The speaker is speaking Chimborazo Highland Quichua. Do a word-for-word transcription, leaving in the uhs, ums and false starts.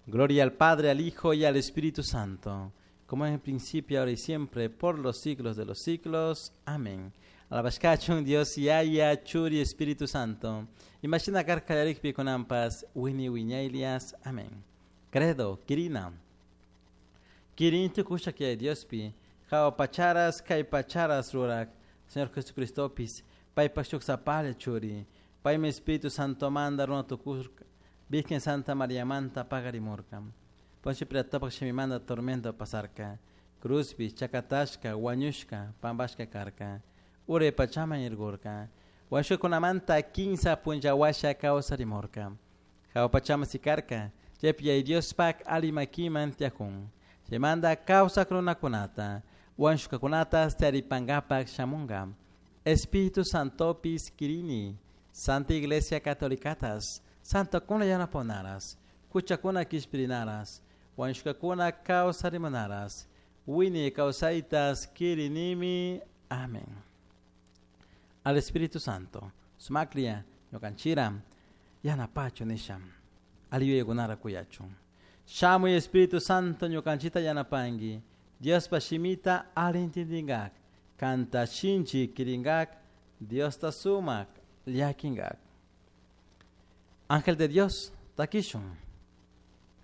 Gloria al Padre, al Hijo y al Espíritu Santo, como en el principio, ahora y siempre, por los siglos de los siglos. Amén. Alabashkachun Dios Yaya, Churi, Espíritu Santo. Imashina karka kallarikpi kunanpas, wiñay wiñaylias. Amén. Credo, Kirina. Kirin tukusha que Diospi, jahua pacharas, kay pacharas rurak, Señor Jesucristopis, paypak shuk sapalla churi, paymi Espíritu Santo manda runa tukurka, Virgen Santa María manta paqarimurka. Poncio Pilatopak shimimanta tormento pasarka, cruzpi, chakatashka, wañushka, pampashka karka, uray pachaman irgurka, wañushkakunamanta kinsa punlla washa kawsarimurka. Jahua pachaman sikarka, chaypi Yaya Diospak ali makiman tiyakun. Chaymanta kawsak runakunata, wañushkakunata taripankapak shamunka. Espíritu Santopis kirini, Santa Iglesia Catolicatas, Santokuna yanaponaras, huchakuna kishpirinaras, wañushkakuna kawsarimunaras, wiñay kawsaytas kirinimi. Amén. Al Espíritu Santo, sumaklla, ñukanchira, yanapachun nisha, ali yuyaykunara kuyachun. Shamuy Espíritu Santo ñukanchita yanapanki, Diospa shimita ali intindingak, kanta shinchi kiringak, Diosta sumak llakinkak. Ángel de Dios, takishun.